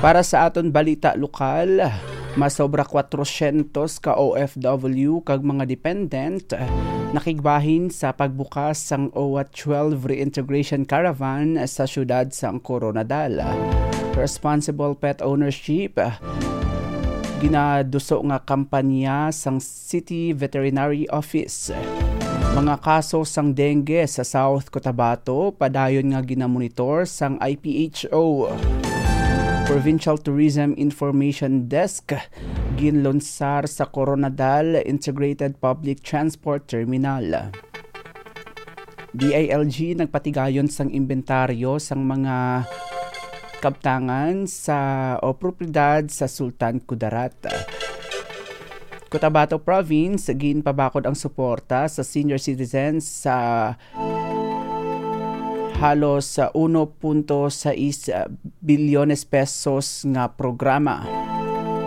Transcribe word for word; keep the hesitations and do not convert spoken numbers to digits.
Para sa aton balita lokal, masobra kwatrosyentos ka O F W kag mga dependent nakigbahin sa pagbukas sang O W A twelve Reintegration Caravan sa siyudad sang Koronadal. Responsible pet ownership, ginaduso nga kampanya sang City Veterinary Office. Mga kaso sang dengue sa South Cotabato padayon nga ginamonitor sang I P H O. Provincial Tourism Information Desk ginlunsar sa Koronadal Integrated Public Transport Terminal. D I L G nagpatigayon sang imbentaryo sang mga kabtangan sa o propiedad sa Sultan Kudarat. Cotabato Province, ginpabakod ang suporta sa senior citizens sa halos uno punto sais bilyones pesos nga programa.